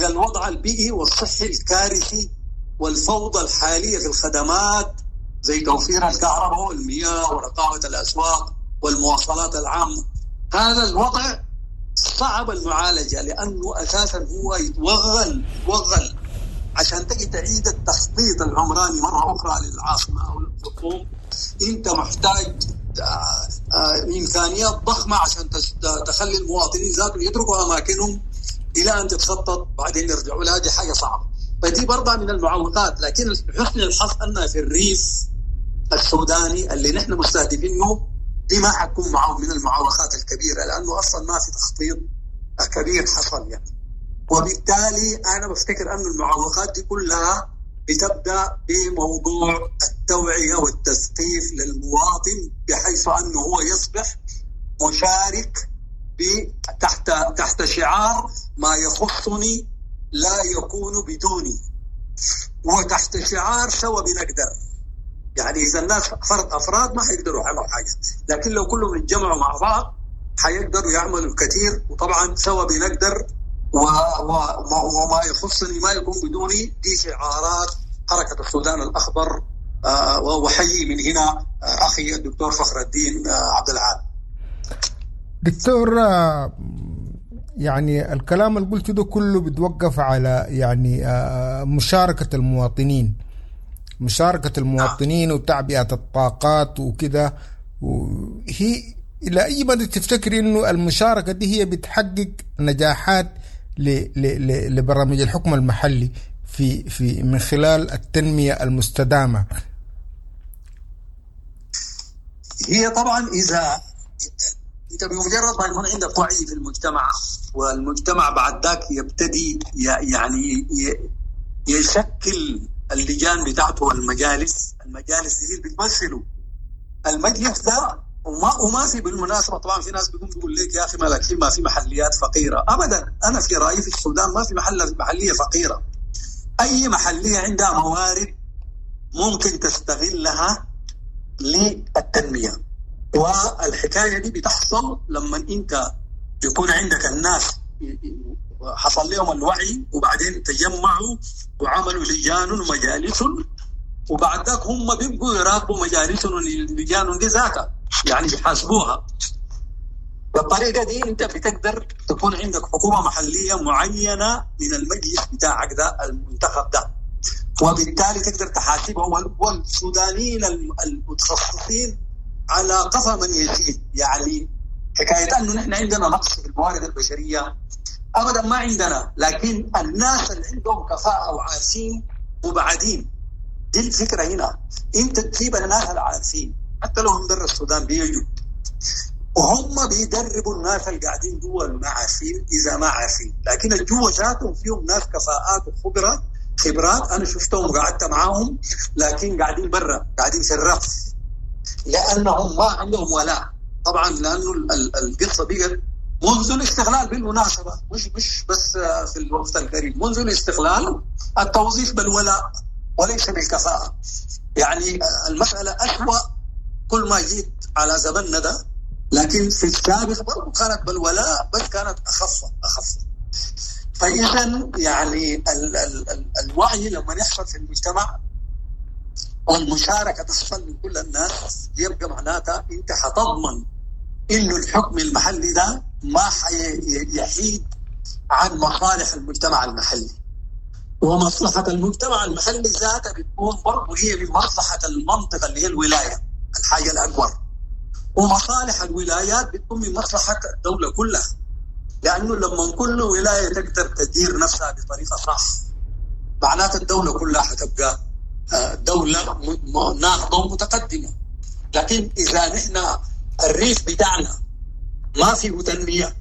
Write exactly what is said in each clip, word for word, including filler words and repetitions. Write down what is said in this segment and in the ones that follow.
الوضع البيئي والصحي الكارثي والفوضى الحالية في الخدمات زي توفير الكهرباء والمياه ورقابة الأسواق والمواصلات العامة. هذا الوضع صعب المعالجة لأنه أساسا هو يتوغل يتوغل عشان تجي تعيد التخطيط العمراني مرة أخرى للعاصمة أو الخرطوم. أنت محتاج إمكانيات ضخمة عشان تخلي المواطنين ذاتهم يتركوا أماكنهم إلى أن تتخطط بعدين يرجعوا لها. دي حاجة صعبة، فدي برضه من المعوقات. لكن حسن الحظ أن في الريف السوداني اللي نحن مستهدفينه دي ما حتكون معه من المعوقات الكبيرة، لأنه أصلا ما في تخطيط كبير حصل يعني. وبالتالي أنا بفتكر أن المعوقات دي كلها بتبدأ بموضوع التوعية والتثقيف للمواطن، بحيث أنه هو يصبح مشارك تحت تحت شعار ما يخصني لا يكون بدوني، وتحت شعار سوا بنقدر. يعني إذا الناس فرد أفراد ما حيقدروا يعملوا حاجة، لكن لو كلهم اتجمعوا مع بعض حيقدروا يعملوا الكثير. وطبعا سوا بنقدر و... و... وما يخصني ما يكون بدوني، دي شعارات حركة السودان الأخضر. آه وحيي من هنا أخي الدكتور فخر الدين عبد العال. دكتور، يعني الكلام اللي قلته ده كله بيتوقف على يعني مشاركة المواطنين، مشاركة المواطنين وتعبئة الطاقات وكده. وهي إلى أي مدى تفتكر إنه المشاركة دي هي بتحقق نجاحات لبرامج الحكم المحلي في في من خلال التنمية المستدامة؟ هي طبعا إذا أنت بمجرد ما يكون عندك وعي في المجتمع، والمجتمع بعد ذاك يبتدي يعني يشكل اللجان بتاعته والمجالس، المجالس دي اللي بتمثله المجلس ده. وما وما في بالمناسبة طبعا في ناس بيقوم بيقول لك يا أخي ما لكن ما في محليات فقيرة. أبدا، أنا في رأيي في السودان ما في محل محلية فقيرة. أي محلية عندها موارد ممكن تستغلها للتنمية، والحكاية دي بتحصل لما أنت يكون عندك الناس حصل لهم الوعي، وبعدين تجمعوا وعملوا لجان ومجالس، وبعد ذاك هم بيبقوا يراقبوا مجالسهم واللجان دي ذاتها، يعني بيحاسبوها. بالطريقة دي أنت بتقدر تكون عندك حكومة محلية معينة من المجلس بتاعك ده المنتخب ده، وبالتالي تقدر تحاسبه. والسودانيين المتخصصين على قفا من يشيل. يعني حكاية أنه نحن عندنا نقص في الموارد البشرية أبدا ما عندنا، لكن الناس اللي عندهم كفاءة وعارفين وبعدين دي الفكرة هنا، أنت تجيب الناس العارفين حتى لو هم برا السودان بيجوا، وهم بيدربوا الناس اللي قاعدين جوا ما عارفين إذا ما عارفين، لكن الجوا ذاتهم فيهم ناس كفاءات وخبرة خبرات أنا شفتهم وقعدت معاهم، لكن قاعدين برا، قاعدين في الرف، لأنهم ما عندهم ولاء. طبعا لأنه القصة بقت منذ الاستقلال بالمناسبة، مش مش بس في الوقت القريب، منذ الاستقلال التوظيف بالولاء وليس بالكفاءة. يعني المسألة أسوأ كل ما جيت على زمننا ده، لكن في السابق برضو كانت بالولاء بس كانت أخف أخف. فإذا يعني ال ال ال الوعي لما يحصل في المجتمع والمشاركة تحصل من كل الناس، يبقى معناتها أنت حتضمن إنه الحكم المحلي ده ما حيحيد عن مصالح المجتمع المحلي، ومصلحة المجتمع المحلي ذاتها بتكون برضه هي من مصلحة المنطقة اللي هي الولاية، الحاجة الأكبر، ومصالح الولايات بتكون من مصلحة الدولة كلها، لأنه لما كل ولاية تقدر تدير نفسها بطريقة صح معناته الدولة كلها حتبقى دولة ناهضة ومتقدمة. لكن إذا نحن الريف بتاعنا ما فيه تنمية،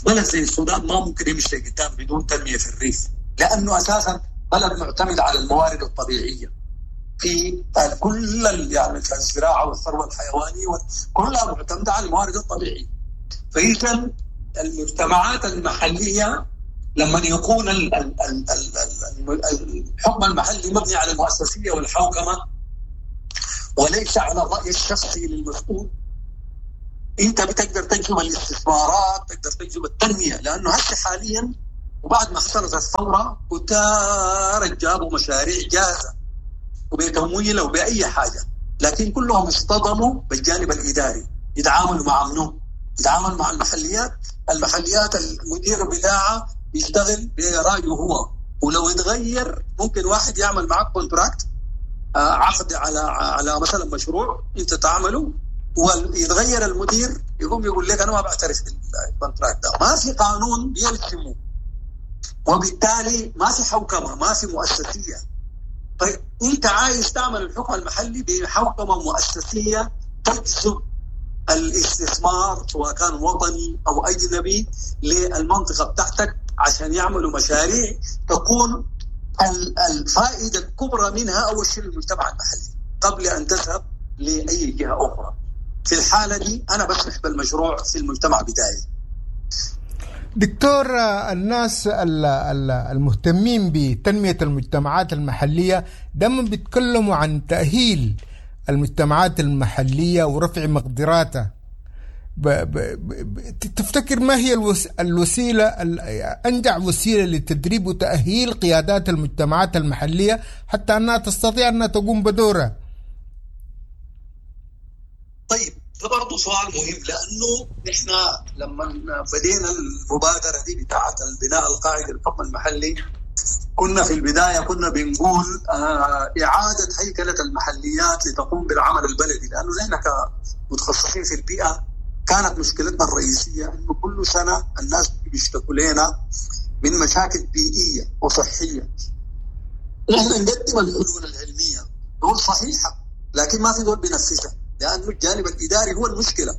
بلد زي السودان ما ممكن يمشي قدام بدون تنمية في الريف، لأنه أساسا بلد معتمد على الموارد الطبيعية في كل يعني الزراعة والثروة الحيوانية كلها معتمدة على الموارد الطبيعية. فإذا المجتمعات المحلية لما يكون الحكم المحلي مبني على المؤسسية والحوكمة وليس على الرأي الشخصي للمسؤول، انت بتقدر تجلب الاستثمارات، تقدر تجلب التنمية. لأنه هسه حاليا وبعد ما حصلت الثورة كتار جابوا مشاريع جاهزة وبتمويل وبأي حاجة، لكن كلهم اصطدموا بالجانب الإداري. يتعاملوا مع منو؟ يتعامل مع المحليات. المحليات المدير بتاعها يشتغل برأيه هو، ولو يتغير ممكن واحد يعمل معك contract، عقد على على مثلا مشروع انت تعمله، ويتغير المدير يقوم يقول لك انا ما بعترف بال contract ده، ما في قانون بيلزمه، وبالتالي ما في حوكمة، ما في مؤسسيه. طيب انت عايز تعمل الحكم المحلي بحوكمه مؤسسيه تجذب الاستثمار سواء كان وطني او اجنبي للمنطقة بتاعتك عشان يعملوا مشاريع تكون الفائدة الكبرى منها اول شيء للمجتمع المحلي قبل ان تذهب لاي جهة اخرى. في الحالة دي انا بسمح بالمشروع في المجتمع بتاعي. دكتور، الناس المهتمين بتنمية المجتمعات المحلية دائما بيتكلموا عن تأهيل المجتمعات المحلية ورفع مقدراتها. ب ب ب تفتكر ما هي الوس الوسيلة أنجع وسيلة لتدريب وتأهيل قيادات المجتمعات المحلية حتى أنها تستطيع أنها تقوم بدورها؟ طيب ده برضه سؤال مهم، لأنه نحن لما بدينا المبادرة دي بتاعة البناء القاعدي للحكم المحلي كنا في البداية كنا بنقول آه إعادة هيكلة المحليات لتقوم بالعمل البلدي، لأنه نحن كمتخصصين في البيئة كانت مشكلتنا الرئيسية أنه كل سنة الناس بيشتكوا لنا من مشاكل بيئية وصحية. نحن نقدم الحلول العلمية نقول صحيحة، لكن ما في دول بينفذها لأنه الجانب الإداري هو المشكلة.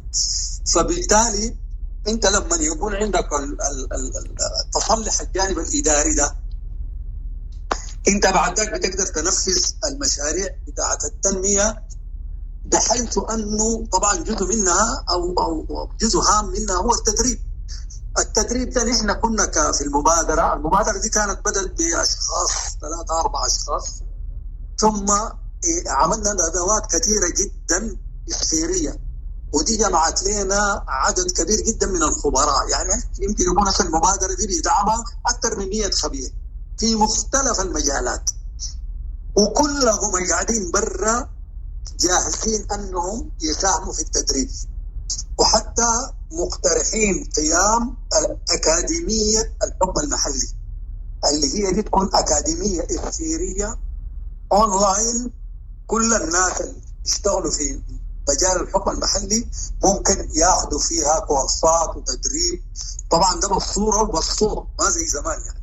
فبالتالي أنت لما يكون عندك ال ال ال تصلح الجانب الإداري ده، أنت بعد ذلك بتقدر تنفذ المشاريع بتاعة التنمية، بحيث أنه طبعا جزء منها أو أو جزء هام منها هو التدريب. التدريب ده نحن كنا في المبادرة، المبادرة دي كانت بدأت بأشخاص ثلاثة أربعة أشخاص، ثم عملنا ندوات كثيرة جدا إسفيرية، ودي جمعت لنا عدد كبير جدا من الخبراء. يعني يمكن يكون هسه المبادرة دي بيدعمها أكثر من مئة خبير في مختلف المجالات، وكلهم قاعدين برا جاهزين أنهم يساهموا في التدريب، وحتى مقترحين قيام أكاديمية الحكم المحلي اللي هي دي تكون أكاديمية إسفيرية أونلاين، كل الناس اللي يشتغلوا في مجال الحكم المحلي ممكن ياخذوا فيها كورسات وتدريب، طبعا ده بالصورة وبالصوت ما زي زمان يعني،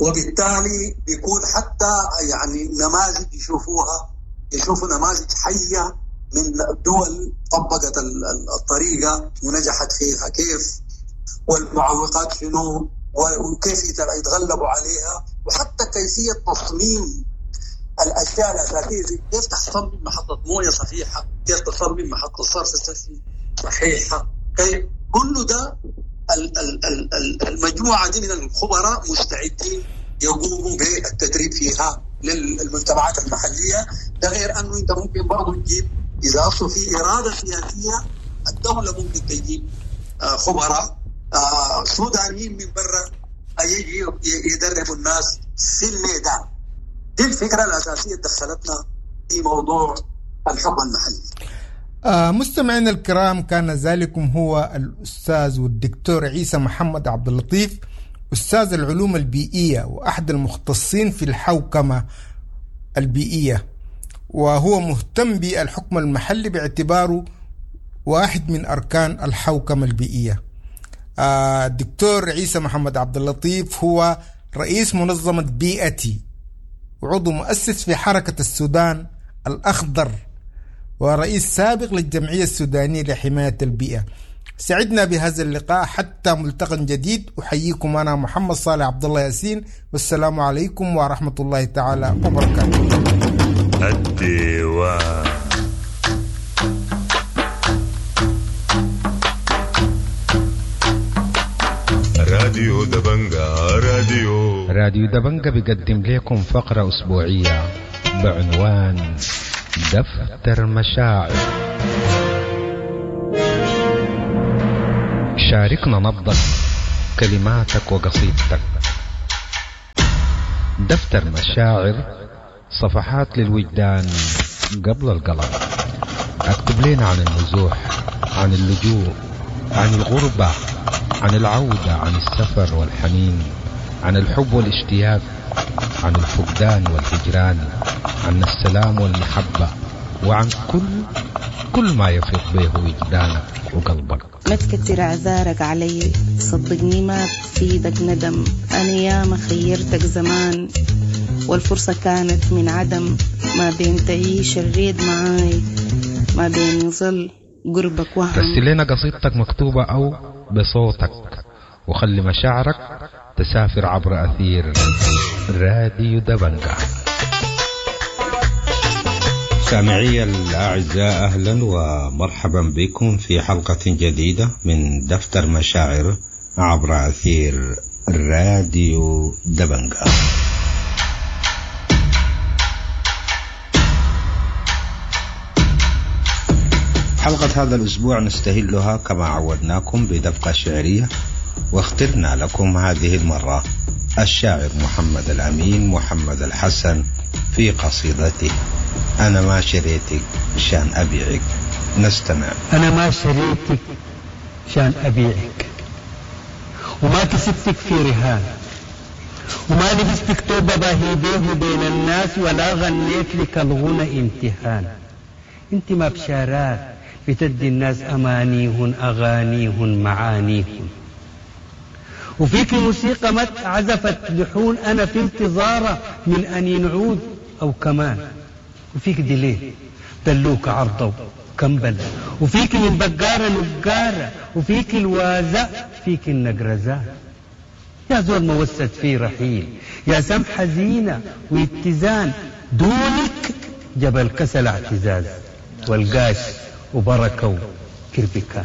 وبالتالي بيكون حتى يعني نماذج يشوفوها، يشوفوا نماذج حية من دول طبقت الطريقة ونجحت فيها كيف، والمعوقات شنو، وكيف يتغلبوا عليها، وحتى كيفية تصميم الأشياء الأساسية زي كيف تصمم محطة موية صحيحة، كيف تصمم محطة صرف صحي صحيحة، كيف كل ده المجموعة دي من الخبراء مستعدين يقوموا بالتدريب فيها للمجتمعات المحلية. ده غير أنه أنت ممكن برضو تجيب إذا أصل في إرادة سياسية الدولة ممكن تجيب خبراء سودانيين من برا يجي يدربوا الناس في الميدان. دي الفكرة الأساسية دخلتنا في موضوع الحكم المحلي. آه مستمعينا الكرام، كان ذلكم هو الأستاذ والدكتور عيسى محمد عبد اللطيف، أستاذ العلوم البيئية وأحد المختصين في الحوكمة البيئية، وهو مهتم بالحكم المحلي باعتباره واحد من أركان الحوكمة البيئية. آه الدكتور عيسى محمد عبد اللطيف هو رئيس منظمة بيئتي وعضو مؤسس في حركة السودان الأخضر ورئيس سابق للجمعية السودانية لحماية البيئة. سعدنا بهذا اللقاء حتى ملتقى جديد. أحييكم أنا محمد صالح عبد الله ياسين، والسلام عليكم ورحمة الله تعالى وبركاته. الديوان. راديو دبنجا، راديو راديو دبنجا بيقدم لكم فقرة أسبوعية بعنوان دفتر مشاعر. شاركنا نبضك، كلماتك وقصيدتك. دفتر مشاعر، صفحات للوجدان قبل القلم. اكتب لنا عن النزوح، عن اللجوء، عن الغربة، عن العودة، عن السفر والحنين، عن الحب والاشتياق، عن الفقدان والهجران، عن السلام والمحبة، وعن كل كل ما يفيض به وجدانك وقلبك. ما تكتر اعذارك علي، صدقني ما بفيدك ندم. انا ياما خيرتك زمان والفرصة كانت من عدم، ما بين تعيش الريد معاي، ما بين يظل قربك وهم. رسل لنا قصيدتك مكتوبة أو بصوتك، وخلي مشاعرك تسافر عبر أثير راديو دبنجة. سامعي الأعزاء، أهلا ومرحبا بكم في حلقة جديدة من دفتر مشاعر عبر أثير راديو دبنجة. حلقة هذا الأسبوع نستهلها كما عودناكم بدفقة شعرية، واخترنا لكم هذه المرة الشاعر محمد الأمين محمد الحسن في قصيدته أنا ما شريتك شان أبيعك. نستمع. أنا ما شريتك شان أبيعك، وما كسبتك في رهان، وما لبستك توبة باهي بين الناس، ولا غنيت لك الغنى امتهان. انت ما بشارات بتدي الناس أمانيهن أغانيهن معانيهن، وفيك موسيقى ما عزفت لحون أنا في انتظاره من أن ينعود أو كمان، وفيك دليل دلوك عرضه كمبل، وفيك من بقارة نقارة، وفيك الوازة فيك النقرزان. يا زول موسد في رحيل، يا سمحة زينة واتزان، دونك جبل كسل اعتزاز والقاش وبركة وكربكان.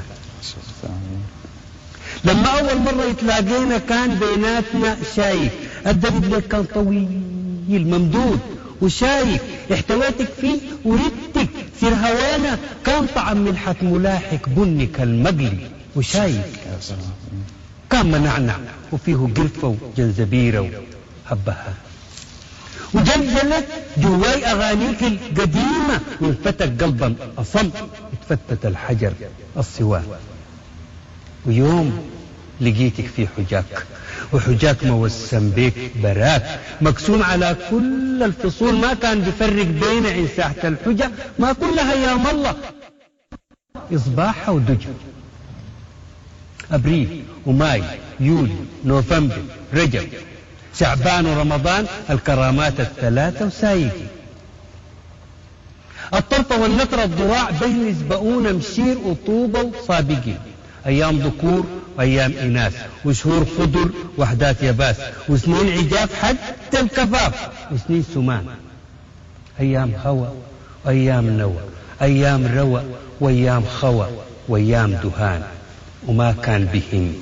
لما أول مرة يتلاقينا كان بيناتنا شايك، الدرب لك كان طويل ممدود وشايك، احتويتك فيه وردتك سير هوانا كان طعم ملحة ملاحق بني كالمقلي وشايك، كان منعنع وفيه قرفة وجنزبيرة وهبها، وجلجلت جواي أغانيك القديمة وانفتك قلبا أصم اتفتت الحجر الصوان. ويوم لقيتك في حجاك، وحجاك موسم بيك براك مقسوم على كل الفصول، ما كان بيفرق بين عين ساحة الحجة ما كلها يا الله إصباحها ودجا. أبريل وماي يولي نوفمبر رجب شعبان ورمضان الكرامات الثلاثة وسايقي الطرفة والنطرة الضراع بين يسبقون مشير وطوبة وصابقين، أيام ذكور وأيام إناث وشهور خضر وحدات يباس وسنين عجاف حتى الكفاف وسنين سمان، أيام هوى وأيام نوى، أيام روى وأيام خوى وأيام دهان. وما كان بهم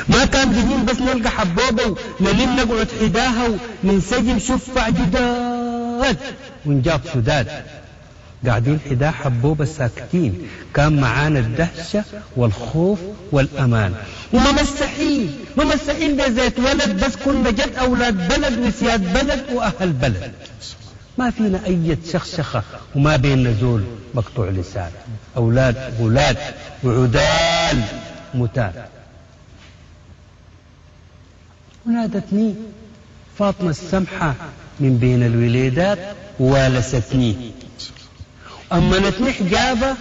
ما كان بهم بس نلقى حبوبة ونلم نقعد حداها وننسجم شفع جداد ونجاب سداد، قاعدين حدا حبوبة ساكتين، كان معانا الدهشة والخوف والأمان، وما مسحين ما مسحين بزيت ولد، بس كنا جد أولاد بلد وسياد بلد وأهل بلد، ما فينا أي شخشخة وما بيننا زول مقطوع لسان، أولاد غلاد وعدال متان. ونادتني فاطمة السمحة من بين الوليدات ووالستني، أمنتني حجابة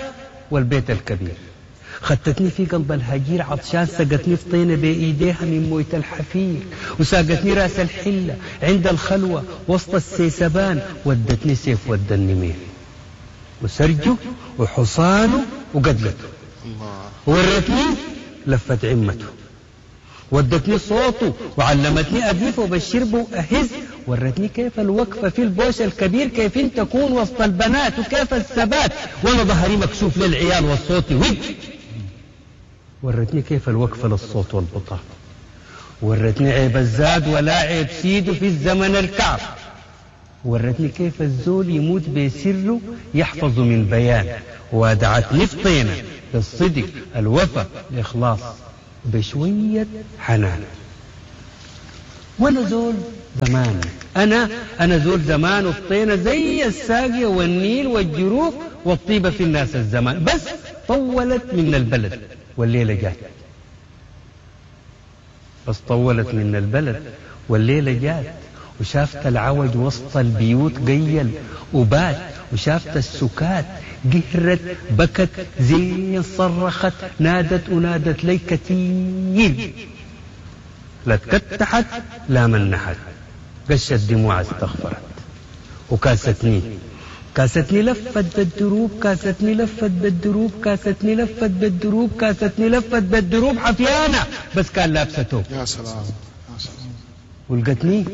والبيت الكبير، خدتني في قلب الهجير عطشان، سقتني في طينة بإيديها من موية الحفير، وساقتني راس الحلة عند الخلوة وسط السيسبان، ودتني سيف ود النمير وسرجه وحصانه وقدلته، ورتني لفت عمته، ودتني صوته وعلمتني أقف وبشربه وأهز، ورتني كيف الوقفة في البوش الكبير، كيف انت تكون وسط البنات وكيف الثبات وانا ظهري مكشوف للعيال والصوت ود، ورتني كيف الوقفة للصوت والبطاط، ورتني عيب الزاد ولا عيب سيده في الزمن الكعب، ورتني كيف الزول يموت بسره يحفظ من بيان، ودعتني في طينة بالصدق الوفا الإخلاص بشوية حنان. وانا زول زمان. أنا أنا زول زمان وفطينة زي الساقية والنيل والجروف والطيبة في الناس الزمان، بس طولت من البلد والليلة جات. بس طولت من البلد والليلة جات، وشافت العوج وسط البيوت قيل وبات، وشافت السكات قهرت بكت زين صرخت نادت ونادت لي كتير، لا تكتحت لا منحت، قشت دموع استغفرت وكاستني كاستني لفت بالدروب كاستني لفت بالدروب كاستني لفت بالدروب كاستني لفت بالدروب حفيانة بس كان لابسة توب. يا سلام يا سلام. ولقتني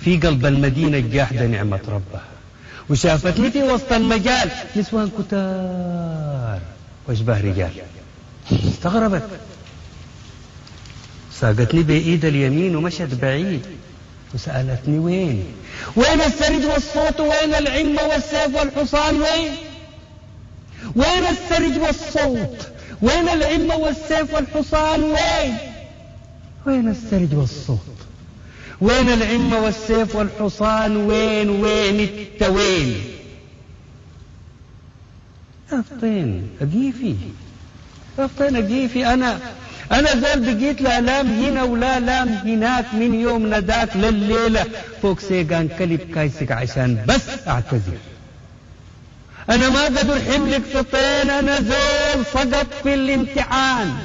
في قلب المدينة الجاحدة نعمة ربها، وشافتني في وسط المجال نسوان كتار واشباه رجال، استغربت ساقتني بإيد اليمين ومشت بعيد وسألتني وين وين السرج والصوت، وين العمة والسيف والحصان، وين وين السرج والصوت، وين العمة والسيف والحصان، وين وين السرج والصوت، وين العمة والسيف والحصان، وين وين انت وين يا فطين أقيفي يا فطين أقيفي. أنا أنا زول بقيت لا لام هنا ولا لام هناك، من يوم نداك لليلة فوق سيقان كلب كايسك عشان بس أعتذر. أنا ما قدر حملك فطين، أنا زول سقط في الامتحان.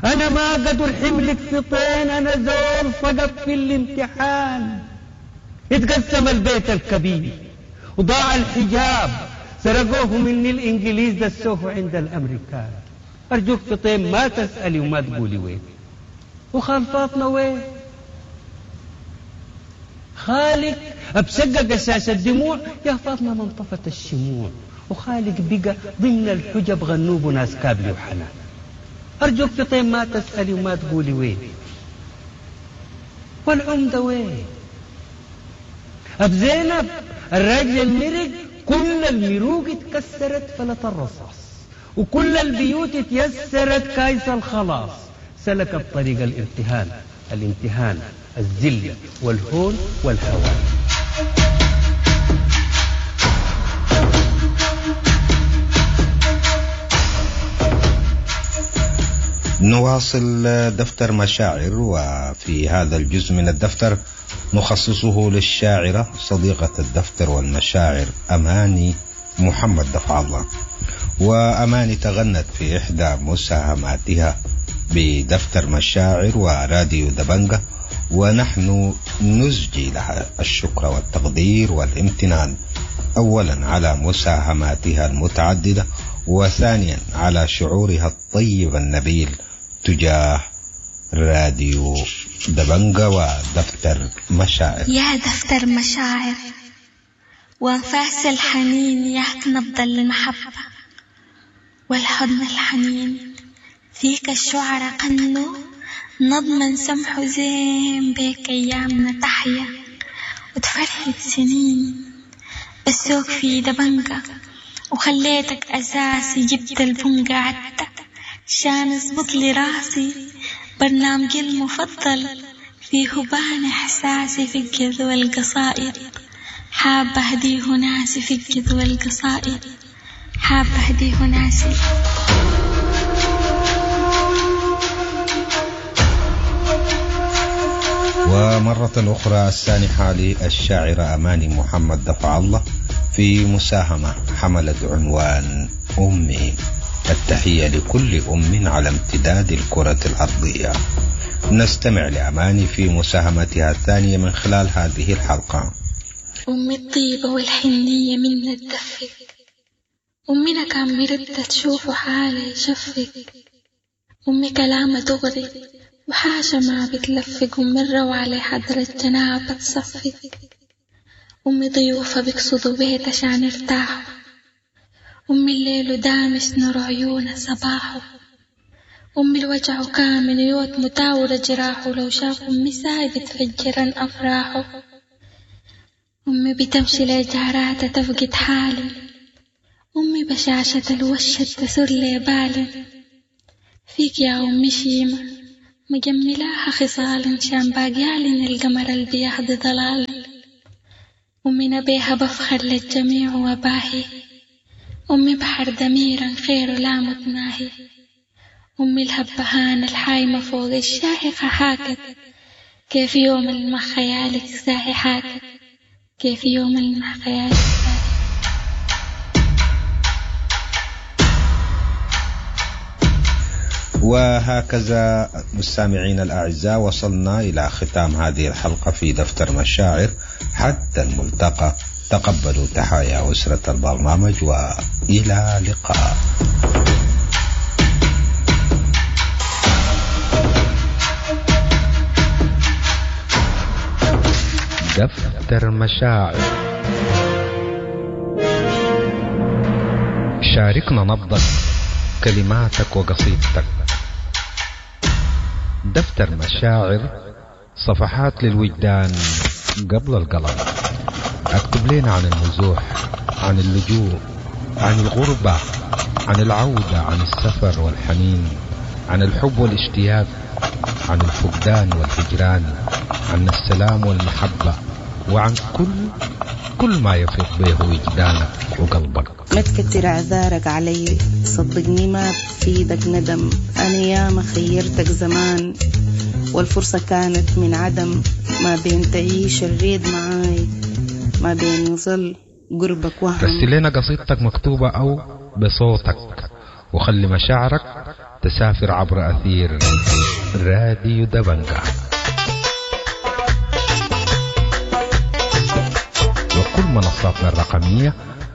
أنا ما قدر حملك فطين، أنا زول سقط في الامتحان. اتقسم البيت الكبير وضاع الحجاب، سرقوه مني الإنجليز دسوه عند الأمريكان. أرجوك فطين ما تسألي وما تقولي وين، وخال فاطمة وين، خالك أبشقق قشاش الدموع يا فاطمة ما انطفت الشموع، وخالك بقى ضمن الحجب غنوب وناس كابلي وحنان. أرجوك فطين ما تسألي وما تقولي وين، والعمدة وين، أب زينب الراجل المرق كل المروق اتكسرت فلت الرصاص، وكل البيوت اتيسرت كايس الخلاص، سلكت طريق الامتهان الامتهان الذلة والهون والهوان. نواصل دفتر مشاعر، وفي هذا الجزء من الدفتر نخصصه للشاعرة صديقة الدفتر والمشاعر أماني محمد دفع الله. وأماني تغنت في إحدى مساهماتها بدفتر مشاعر وراديو دبنجة، ونحن نزجي لها الشكر والتقدير والامتنان أولا على مساهماتها المتعددة، وثانيا على شعورها الطيب النبيل تجاه راديو دبنجة ودفتر مشاعر. يا دفتر مشاعر وانفاس الحنين، ياك نبض المحبة والحضن الحنين، فيك الشعر قنوا نظما سمح زين، بيك أيامنا تحيا وتفرهد سنين. بسوك في دبنجة وخليتك أساسي، جبت البنجة عدة شان اظبط لي راسي، برنامجي المفضل فيه بان إحساسي، في الجذ والقصائد حابة أهديه ناسي، في الجذ والقصائد حابة أهديه ناسي. ومرة أخرى السانحة للشاعرة أماني محمد دفع الله في مساهمة حملت عنوان أمي. التحية لكل أم على امتداد الكرة الأرضية. نستمع لأماني في مساهمتها الثانية من خلال هذه الحلقة. أمي الطيبة والحنية منا تدفك، أمنا كان مردة تشوف حالة يشفك، أمي كلامها دغري وحاشا ما بتلفق، أمي الروعة لحضرة جنابة تصفق، أمي ضيوفها بيقصدوا بيت عشان يرتاحوا، أمي الليل دامس نور عيونها صباحه، أمي الوجع كامل يوت متاورة جراحه، لو شاف أمي ساي بتفجرن أفراحه، أمي بتمشي لجاراتها تفقد حالي، أمي بشاشة الوش تسر لي بالي، فيك يا أمي شيمة مجملاها خصال شان باقيالن القمر البيهدي ضلال. أمي بيها بفخر للجميع وباهي، أمي بحر دميرا خير لا متناهي. أمي الهبهانة الحايمة فوق الشاهقة حاكت، كيف يوم المخ خيالك ساهي حاكت، كيف يوم المخ خيالك ساهي. وهكذا مستمعينا الأعزاء وصلنا إلى ختام هذه الحلقة في دفتر مشاعر. حتى الملتقى، تقبلوا تحايا أسرة البرنامج وإلى لقاء. دفتر مشاعر، شاركنا نبضك، كلماتك وقصيدتك. دفتر مشاعر، صفحات للوجدان قبل القلم. اكتب لنا عن النزوح، عن اللجوء، عن الغربة، عن العودة، عن السفر والحنين، عن الحب والاشتياق، عن الفقدان والهجران، عن السلام والمحبة، وعن كل كل ما يفيض به وجدانك وقلبك. ما تكتر اعذارك علي، صدقني ما بفيدك ندم. انا ياما خيرتك زمان والفرصة كانت من عدم، ما بين تعيش الريد معاي، ما بين يظل قربك وهم. رسل لنا قصيدتك مكتوبة أو بصوتك، وخلي مشاعرك تسافر عبر أثير راديو دبنجة وكل منصاتنا الرقمية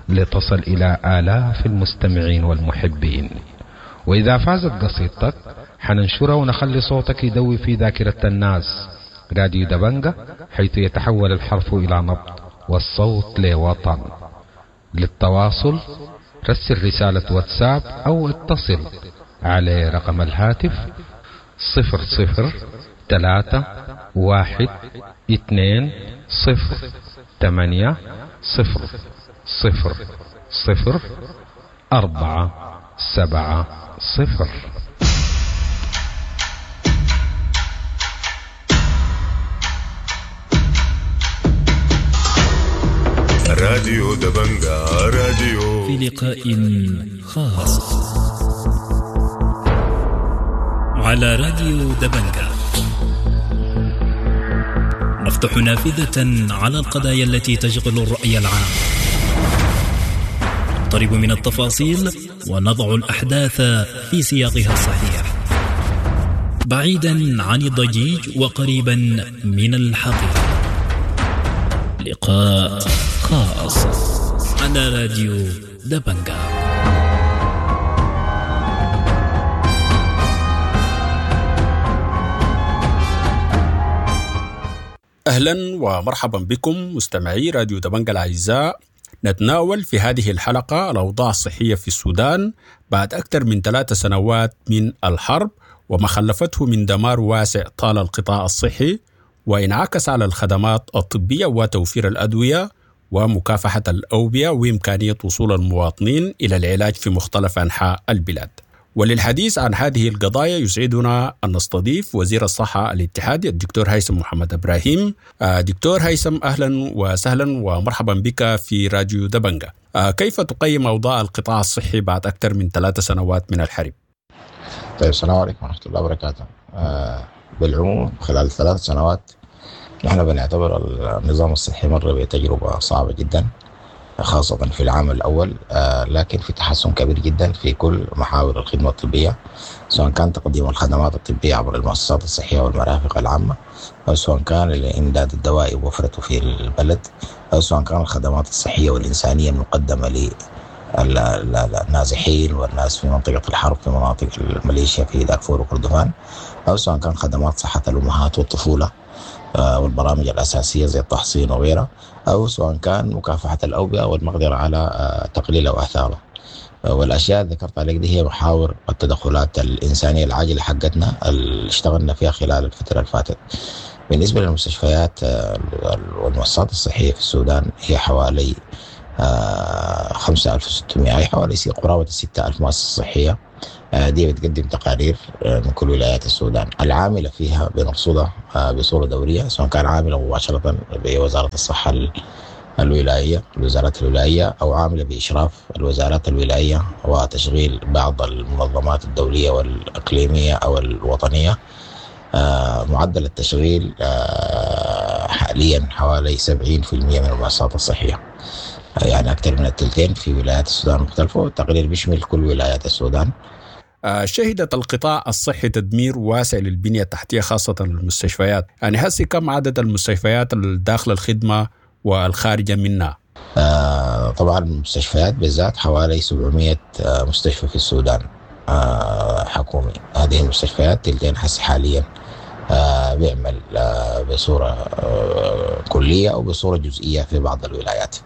لتصل إلى آلاف المستمعين والمحبين. وإذا فازت قصيدتك حننشرها ونخلي صوتك يدوي في ذاكرة الناس. راديو دبنجة، حيث يتحول الحرف إلى نبض والصوت لوطن. للتواصل رسل رسالة واتساب أو اتصل على رقم الهاتف صفر صفر ثلاثة واحد اثنين صفر ثمانية صفر صفر صفر أربعة سبعة صفر. راديو دبنجة، راديو في لقاء خاص على راديو دبنجة نفتح نافذة على القضايا التي تشغل الرأي العام، نقترب من التفاصيل ونضع الأحداث في سياقها الصحيح، بعيدا عن الضجيج وقريبا من الحقيقة. لقاء خاص على راديو دبنجة. أهلا ومرحبا بكم مستمعي راديو دبنجة الأعزاء. نتناول في هذه الحلقة الأوضاع الصحية في السودان بعد أكثر من ثلاث سنوات من الحرب وما خلفته من دمار واسع طال القطاع الصحي وانعكس على الخدمات الطبية وتوفير الأدوية ومكافحة الأوبئة وإمكانية وصول المواطنين إلى العلاج في مختلف أنحاء البلاد. وللحديث عن هذه القضايا يسعدنا أن نستضيف وزير الصحة الاتحادي الدكتور هيثم محمد إبراهيم. دكتور هيثم، أهلا وسهلا ومرحبا بك في راديو دبنجة. كيف تقيم أوضاع القطاع الصحي بعد أكثر من ثلاث سنوات من الحرب؟ طيب، السلام عليكم ورحمة الله وبركاته. آه بالعموم خلال ثلاث سنوات نحن بنعتبر النظام الصحي مر بتجربة صعبة جدا، خاصة في العام الأول، آه لكن في تحسن كبير جدا في كل محاور الخدمة الطبية، سواء كان تقديم الخدمات الطبية عبر المؤسسات الصحية والمرافق العامة، أو سواء كان الإمداد الدوائي ووفرته في البلد، أو سواء كان الخدمات الصحية والإنسانية المقدمة للنازحين والناس في منطقة الحرب في مناطق الميليشيا في دارفور وكردفان، أو سواء كان خدمات صحة الأمهات والطفولة والبرامج الأساسية زي التحصين وغيرها، أو سواء كان مكافحة الأوبئة والمقدرة على تقليل أو آثارها. والأشياء اللي ذكرت عليك دي هي محاور التدخلات الإنسانية العاجلة حقتنا اللي اشتغلنا فيها خلال الفترة اللي فاتت. بالنسبة للمستشفيات والمؤسسات الصحية في السودان هي حوالي خمسة ألف وستمائة، أي حوالي قرابة ستة ألف مؤسسة صحية. دي بتقدم تقارير من كل ولايات السودان العاملة فيها بنرصدها بصورة دورية، سواء كان عاملة مباشرة بوزارة الصحة الولاية الوزارات الولاية أو عاملة بإشراف الوزارات الولاية وتشغيل بعض المنظمات الدولية والإقليمية أو الوطنية. معدل التشغيل حاليا حوالي سبعين في المئة من المؤسسات الصحية، يعني أكثر من الثلثين في ولايات السودان المختلفة، والتقرير بيشمل كل ولايات السودان. شهدت القطاع الصحي تدمير واسع للبنية التحتية خاصة المستشفيات، يعني هسي كم عدد المستشفيات الداخل الخدمة والخارجة منها؟ آه طبعا المستشفيات بالذات حوالي سبعمئة مستشفى في السودان آه حكومي. هذه المستشفيات تلتين حس حاليا آه بيعمل آه بصورة آه كلية أو بصورة جزئية في بعض الولايات.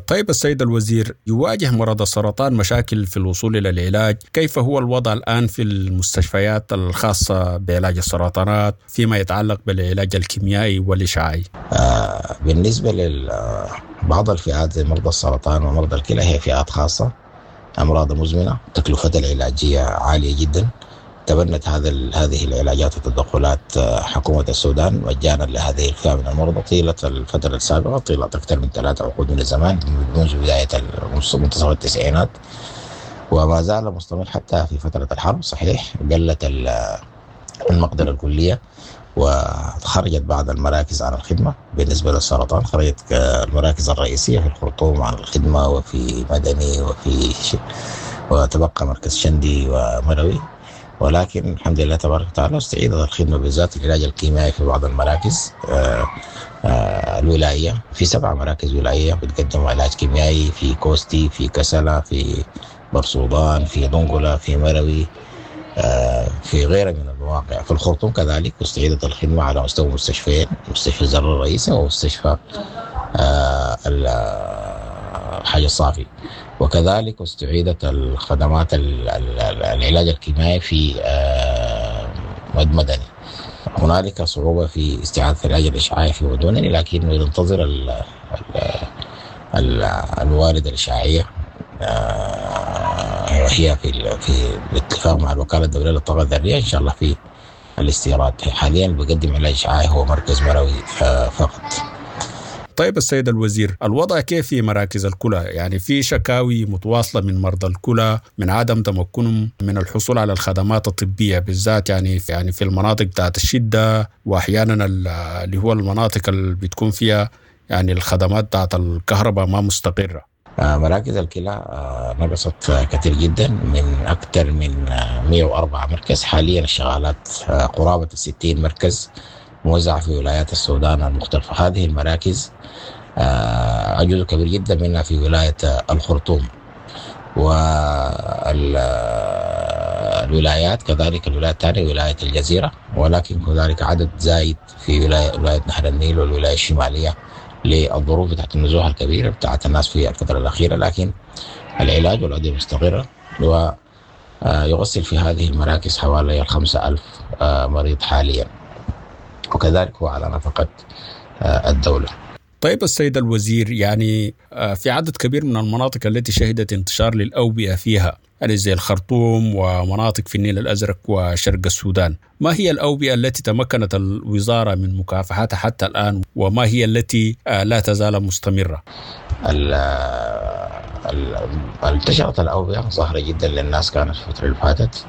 طيب السيد الوزير، يواجه مرضى السرطان مشاكل في الوصول إلى العلاج، كيف هو الوضع الآن في المستشفيات الخاصة بعلاج السرطانات فيما يتعلق بالعلاج الكيميائي والإشعاعي؟ آه بالنسبة لبعض الفئات زي مرضى السرطان ومرضى الكلى هي فئات خاصة، أمراض مزمنة، تكلفتها العلاجية عالية جدا. تبنت هذا هذه العلاجات والتدخلات حكومة السودان مجانا لهذه الفئة من المرضى طيلة الفترة السابقة، طيلة أكثر من ثلاثة عقود من الزمان منذ بداية منتصف التسعينات، وما زال مستمر حتى في فترة الحرب. صحيح قلت المقدرة الكلية وخرجت بعض المراكز عن الخدمة. بالنسبة للسرطان خرجت المراكز الرئيسية في الخرطوم عن الخدمة وفي مدني وفي ش... وتبقى مركز شندي ومروي، ولكن الحمد لله تبارك وتعالى استعيدت الخدمة بالذات العلاج الكيميائي في بعض المراكز آآ آآ الولاية. في سبع مراكز ولاية بتقدم علاج كيميائي في كوستي، في كسلة، في برسودان، في دنقلة، في مروي، في غيرها من المواقع. في الخرطوم كذلك استعيدت الخدمة على مستوى مستشفيين، مستشفى الزر الرئيسي ومستشفى الحاج الصافي، وكذلك استعيدت الخدمات العلاج الكيميائي في مد مدني. هنالك صعوبة في استعادة العلاج الإشعاعي في مدني، لكن ننتظر ال ال الوارد الإشعاعية وهي في في الاتفاق مع الوكالة الدولية للطاقة الذرية إن شاء الله في الاستيراد. حاليا بقدم علاج إشعاعي هو مركز مروي فقط. طيب السيد الوزير، الوضع كيف في مراكز الكلى؟ يعني في شكاوي متواصلة من مرضى الكلى من عدم تمكنهم من الحصول على الخدمات الطبية، بالذات يعني في يعني في المناطق بتاعت الشدة، وأحيانا اللي هو المناطق اللي بتكون فيها يعني الخدمات بتاعت الكهرباء ما مستقرة. مراكز الكلى نقصت كثير جدا، من أكثر من مئة وأربعة مركز حاليا الشغالات قرابة الستين مركز موزعة في ولايات السودان المختلفة. هذه المراكز جزء كبير جدا منها في ولاية الخرطوم والولايات، كذلك الولاية الثانية ولاية الجزيرة، ولكن هنالك عدد زايد في ولاية, ولاية نهر النيل والولاية الشمالية للظروف بتاعت النزوح الكبيرة بتاعت الناس في الفترة الأخيرة. لكن العلاج والأدوية مستقرة، ويغسل في هذه المراكز حوالي الخمسة ألف مريض حاليا، وكذلك هو على نفقة الدولة. طيب السيد الوزير، يعني في عدد كبير من المناطق التي شهدت انتشار للأوبئة فيها، يعني زي الخرطوم ومناطق في النيل الأزرق وشرق السودان، ما هي الأوبئة التي تمكنت الوزارة من مكافحتها حتى الآن، وما هي التي لا تزال مستمرة؟ انتشرت الأوبئة ظاهرة جدا للناس كانت في الفترة اللي فاتت،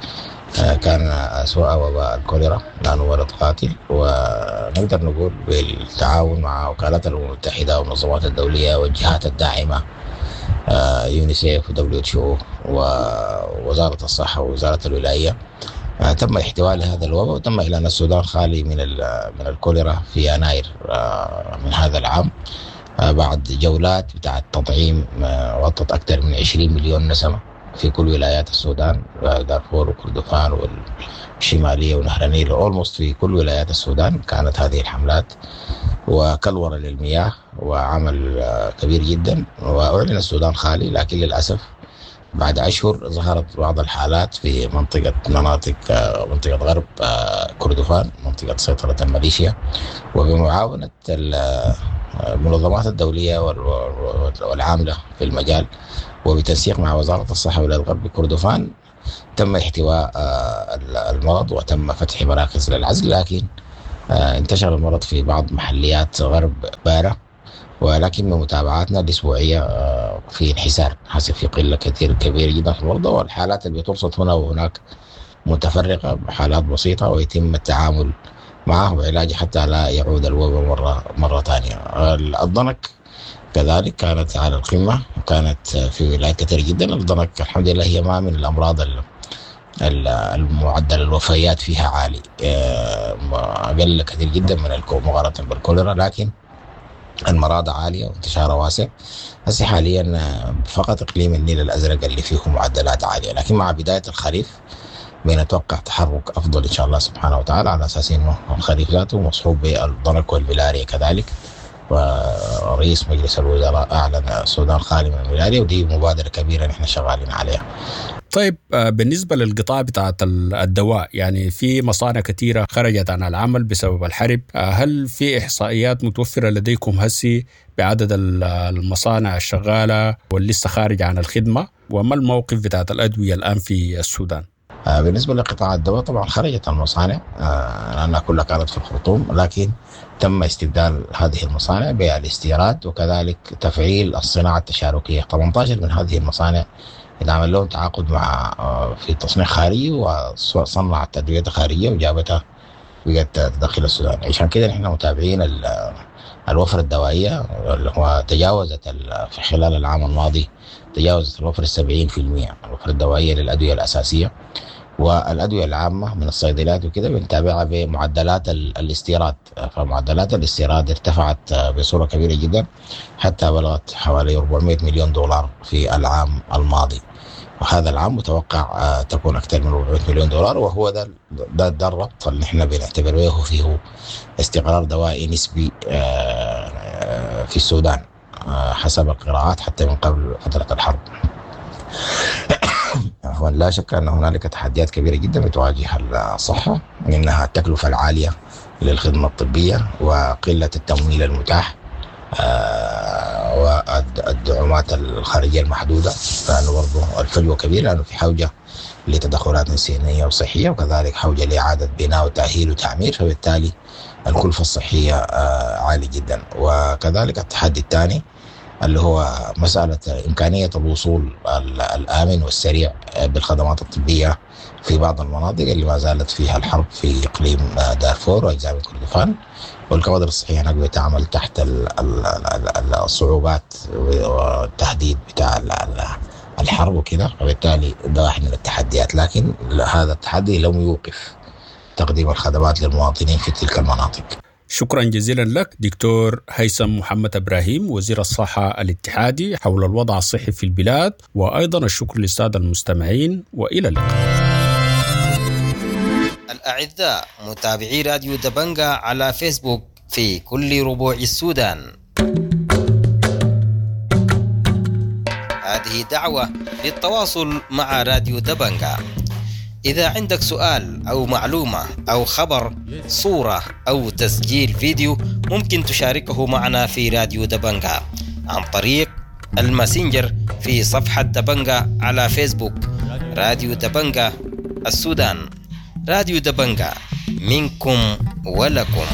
كان أسوأ وباء الكوليرا لأنه مرض قاتل، ونقدر نقول بالتعاون مع وكالات الأمم المتحدة والمنظمات الدولية والجهات الداعمة يونيسيف ودبليو اتش او ووزارة الصحة ووزارة الولاية، تم احتواء هذا الوباء، وتم إعلان السودان خالي من من الكوليرا في يناير من هذا العام، بعد جولات بتاعت تطعيم غطت أكثر من عشرين مليون نسمة في كل ولايات السودان، دارفور وكردفان والشمالية ونهر النيل، almost في كل ولايات السودان كانت هذه الحملات، وكلورة للمياه وعمل كبير جدا، وأعلن السودان خالي. لكن للأسف بعد أشهر ظهرت بعض الحالات في منطقة مناطق منطقة غرب كردفان، منطقة سيطرة الميليشيا، وبمعاونة المنظمات الدولية والعاملة في المجال وبتنسيق مع وزارة الصحة ولاية غرب كردفان تم احتواء المرض وتم فتح مراكز للعزل، لكن انتشر المرض في بعض محليات غرب بارة، ولكن بمتابعاتنا الأسبوعية في انحسار، حسب في قلة كثير كبيرة جدا في المرضى، والحالات اللي بترصد هنا وهناك متفرقة، حالات بسيطة ويتم التعامل معه وعلاجه حتى لا يعود الوباء مرة مرة ثانية. الضنك كذلك كانت على القمة، وكانت في ولايات كثيرة جدا. الضنك الحمد لله هي ما من الأمراض المعدل الوفيات فيها عالي، أقل كثير جدا من مقارنة بالكوليرا، لكن المراض عالية وانتشارها واسع. هسه حاليا فقط إقليم النيل الأزرق اللي فيه معدلات عالية، لكن مع بداية الخريف بنتوقع تحرك أفضل إن شاء الله سبحانه وتعالى، على أساس إنه الخريف ذاته مصحوب بالضنك والملاريا كذلك. ورئيس مجلس الوزراء أعلن السودان خالي من الملاريا، ودي مبادرة كبيرة نحن شغالين عليها. طيب بالنسبة للقطاع بتاعت الدواء، يعني في مصانع كثيرة خرجت عن العمل بسبب الحرب، هل في إحصائيات متوفرة لديكم هسي بعدد المصانع الشغالة واللي لسه خارج عن الخدمة، وما الموقف بتاعت الأدوية الآن في السودان؟ بالنسبة لقطاع الدواء طبعا خرجت المصانع لأنها كلها كانت في الخرطوم، لكن تم استبدال هذه المصانع بالاستيراد وكذلك تفعيل الصناعة التشاركية. ثمانية عشر من هذه المصانع اتعمل لهم تعاقد مع في تصنيع خارجي وصنعت أدوية خارجية وجابتها بقت تدخل السودان. عشان كده نحن متابعين الوفرة الدوائية اللي هو تجاوزت في خلال العام الماضي تجاوزت الوفرة السبعين في المية، الوفرة الدوائية للأدوية الأساسية والأدوية العامة من الصيدليات وكده بنتابعها بمعدلات الاستيراد. فمعدلات الاستيراد ارتفعت بصورة كبيرة جدا حتى بلغت حوالي أربعمائة مليون دولار في العام الماضي، وهذا العام متوقع تكون أكثر من أربعمائة مليون دولار، وهو ده ده, ده الربط اللي احنا بنعتبر به فيه استقرار دوائي نسبي في السودان حسب القراءات حتى من قبل فترة الحرب. عفوا، لا شك أن هنالك تحديات كبيرة جدا بتواجه الصحة، منها التكلفة العالية للخدمة الطبية وقلة التمويل المتاح والدعومات الخارجية المحدودة، لأنه برضه الفجوة كبيرة، لأنه في حوجة لتدخلات إنسانية وصحية، وكذلك حوجة لإعادة بناء وتأهيل وتعمير، فبالتالي الكلفة الصحية عالية جدا. وكذلك التحدي الثاني اللي هو مسألة إمكانية الوصول الآمن والسريع بالخدمات الطبية في بعض المناطق اللي ما زالت فيها الحرب في إقليم دارفور وأجزاء من كردفان، والكوادر الصحية هناك بتعمل تحت الصعوبات والتهديد بتاع الحرب وكده، وبالتالي ده واحد من التحديات. لكن هذا التحدي لم يوقف تقديم الخدمات للمواطنين في تلك المناطق. شكرا جزيلا لك دكتور هيثم محمد إبراهيم وزير الصحة الاتحادي حول الوضع الصحي في البلاد، وأيضا الشكر للسادة المستمعين، وإلى اللقاء. الأعزاء متابعي راديو دبنجا على فيسبوك في كل ربوع السودان، هذه دعوة للتواصل مع راديو دبنجا. إذا عندك سؤال أو معلومة أو خبر، صورة أو تسجيل فيديو، ممكن تشاركه معنا في راديو دبنجا عن طريق الماسنجر في صفحة دبنجا على فيسبوك. راديو دبنجا السودان، راديو دبنجا منكم ولكم.